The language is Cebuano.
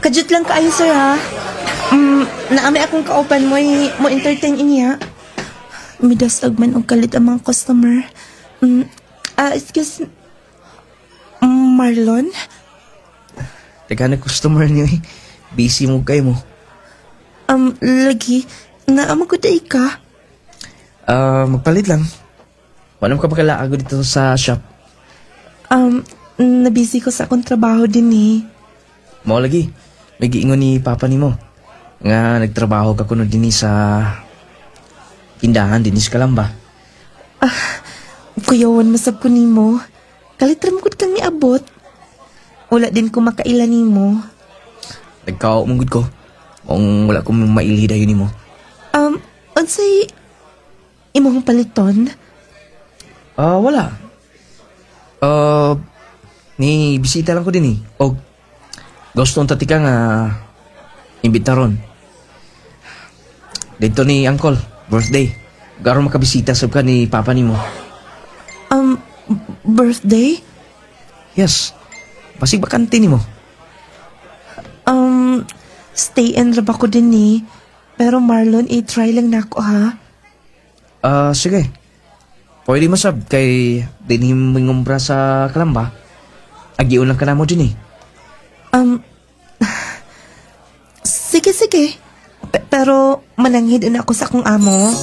Kadyot lang kaayo, sir, ha. Naa may akong kauban mo, mo entertain niya. Midasag man og kalit ang mga customer. Excuse, Marlon? Teka na customer niyo eh. Busy mo kayo mo. Lagi, naa man gud diay ka? Magpalit lang. Wala mo ka pakalaag dito sa shop. Nabisi ko sa akong trabaho din eh. Mao lagi. May giingon ni Papa nimo nga nagtrabaho ka kuno dinhi sa tindahan dinhi sa Kalamba. Kuyawan masab ko nimo. Kalit ra gud kang niabot. Wala din ko makaila nimo. Nagkao man gud ko. Kung wala ko mailhi dayon nimo. Unsay imong paliton? Ah, wala. Ni bisita lang ko din eh. Og gusto unta tika nga imbitaron. Dito ni Uncle, birthday. Garo makabisita sab ka ni Papa nimo. Birthday? Yes. Basig bakante nimo. Stay in ra ba ko din eh. Pero Marlon, i-try lang nako ha. Ah, sige. Pwede mo sab kay dinhi mingumbra sa Kalamba. Agiun lang ka namo din eh. Sige, sige. Pero mananghid na ako sa akong amo.